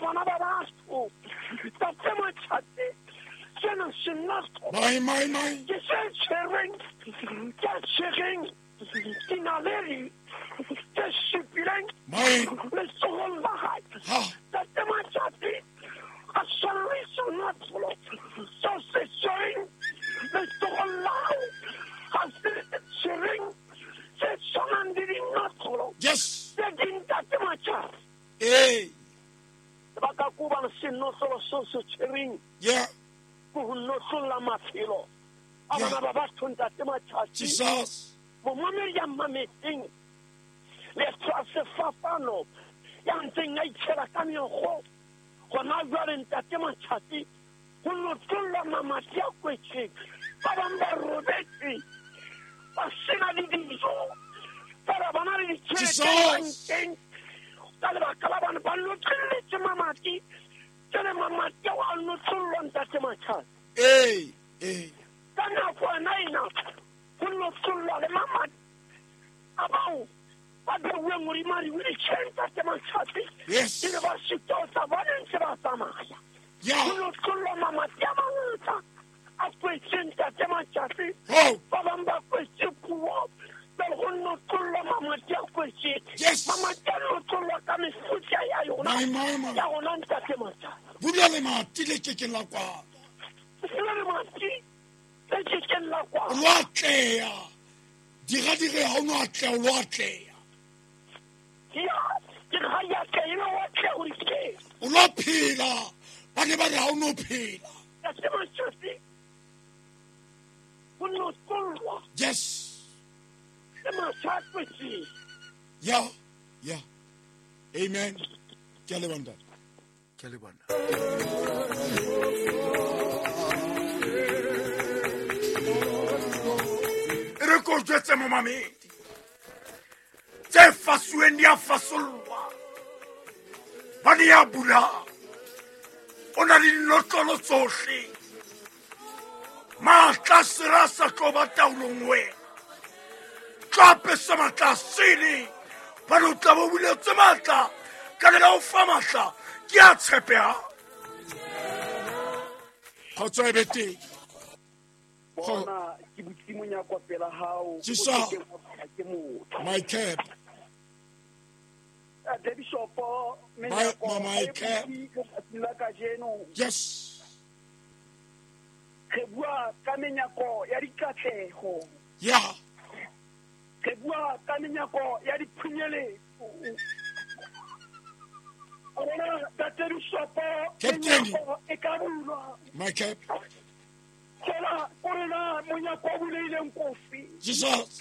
bana ba batho. Tate Matšatši, sena senotlolo My, my, my. ke se tshwereng, ke tshwereng dinaledi tse supileng My. letsogong la gae. Ha. Tate Matšatši, a swana le senotlolo seo se tshwereng letsogong la gago, ga se tshwereng se tshwanang le dinotlolo Yes. tse ding. Tate Matšatši, Hey. lebaka ke gobane senotlolo seo se tshwereng Yeah. ke go notlolla maphelo a Yeah. bana ba batho. Ntate Matšatši, Jesus. momamedi ya mmametseng leeto a sefapano ya ntseng a itšhela ka meokgo gona jwale, ntate Matšatši, go notlollwa mamati a kwetseng. Ba bangwe ba robetse ba sena le dijo, fela ba na le ditšhelete Jesus. bankeng ka lebaka la bane ba notlolletse mamati. Jale mamati ao a notlollwa, ntate Matšatši. Hey. Hey. Ka nako ena ena go notlollwa le mamati a bao ba beuweng godimo a di-wheelchair, ntate Matšatši, Yes. e le ba sitotsa bone ntse ba tsamaya. Yeah. Go notlollwa mamati a mangata a kwetse, ntate Matšatši. Oh. Ba bangwe ba kwetse puo, pele go notlollwa mamati a kwetse. Yes. Mamati a notlollwa ka mefuta ya yona My, my, my. ya gona, ntate Matšatši. Bula lemati le ke ke la kwala. Le lemati le kekeng la O kwala. lo atleha. Dira dire ha o no atleha, o lo atleha. Ya ke ga ya tle e le wa tle gore ke O lo phela. Ba ne ba re ha o no phela. Ntate Matšatši, go notlollwa Yes. le matšha a kwetseng. Yeah. Yeah. Amen. Ke a leboha, ntate. Ke a leboha nna. E re ko jwetse momamedi, tse fasuweng di a fasollwa, ba di a bulang o na le dinotlolo tsohle. Maatla a sera a sa tlo ba taolong, wena tlo apesa maatla a sele, bane o tla bo buletse maatla ka lela o fa maatla ke a tshepehang. Kgotso e be teng. Bona, ke butse monyako pela hao, o Jesus. ke keng wa kwalwa ke motho. My cap. Tate Bishopo, menyako my ha e cap. butse letsatsing la kajeno. Yes. Re bua ka menyako ya dikatleho. Yeah. Re bua ka menyako ya diphunyeletso. A bona, Tate Bishopo, Captain. menyako e ka bulwa. My cap. Fela kore na monyako o buleileng kofi? Jesus.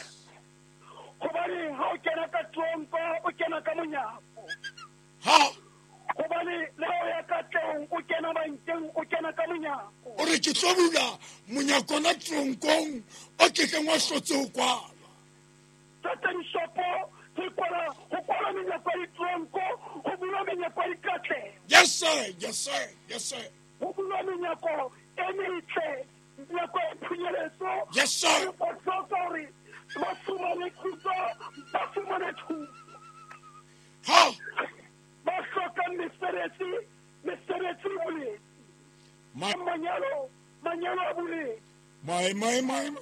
Gobane ha o kena ka tronko, o kena ka monyako. Ha. Gobane le ha o ya katlehong, o kena bankeng, o kena ka monyako. O re ke tlo bula monyakona tronkong o ke keng wa hlotse ho kwalwa. Tate Bishopo, re kwala go kwala menyako ya ditronko, go bulwa menyako ya dikatleho. Yes sir, yes sir, yes sir. Go bulwa menyako e metle, menyako ya phunyeletso. Yes sir. Ba hloka hore ba fumane khutso, ba fumane thuso. Ha. Ba hlokang mesebetsi, mesebetsi e buletse. My, Manyalo, manyalo a buletse. my, my, my, my.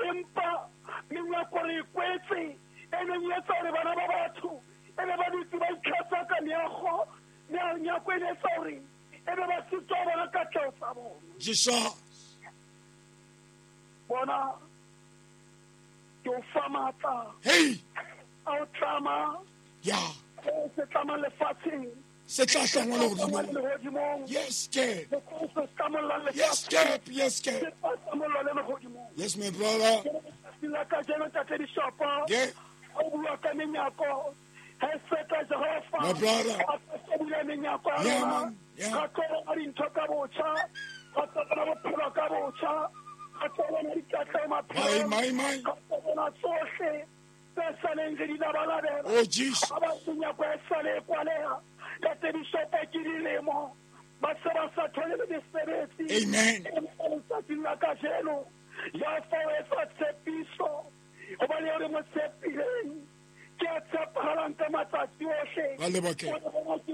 Empa menyako re e kwetse e neng e etsa hore bana ba batho e be ba dutse ba itlhatsa ka meago. Menyako e ne etsa hore e be ba sitwa ho bona katleho tsa bona. Jesus. Bona, ke o fa matla Hey. a o tlama Yeah. seo se tlamang lefatsheng Se tla hlangwa tlamang lehodimong. lehodimong, Yes, cap. le seo se tlamollang Yes, lefatsheng cap. Yes, se cap. tla tlamollwa le lehodimong. Yes, my brother. Letsatsing la kajeno, Tate Bishopo, Yeah. o bua ka menyako ha e feta Jehova My brother. a tla bula menyako ya Yeah, rona. man. Yeah. Ra tlo bona dintho ka botjha, ra tlo bona bophelo ka botjha, ra tlo bona dikatleho My, maphelong, my, my. ra tlo bona tsohle tse saleng re di labalabela. Oh, Jesus. Ga ba menyako e sale e kwaleha, Tate Bishopo, ke dilemo ba se ba sa thole le mesebetsi. Amen. Empa letsatsing la kajeno ya fa o etsa tshepiso, gobane eo re mo tshepileng ke a tshepahalang ka matsatsi ohle. Ba leboha, Cap. O re bona ke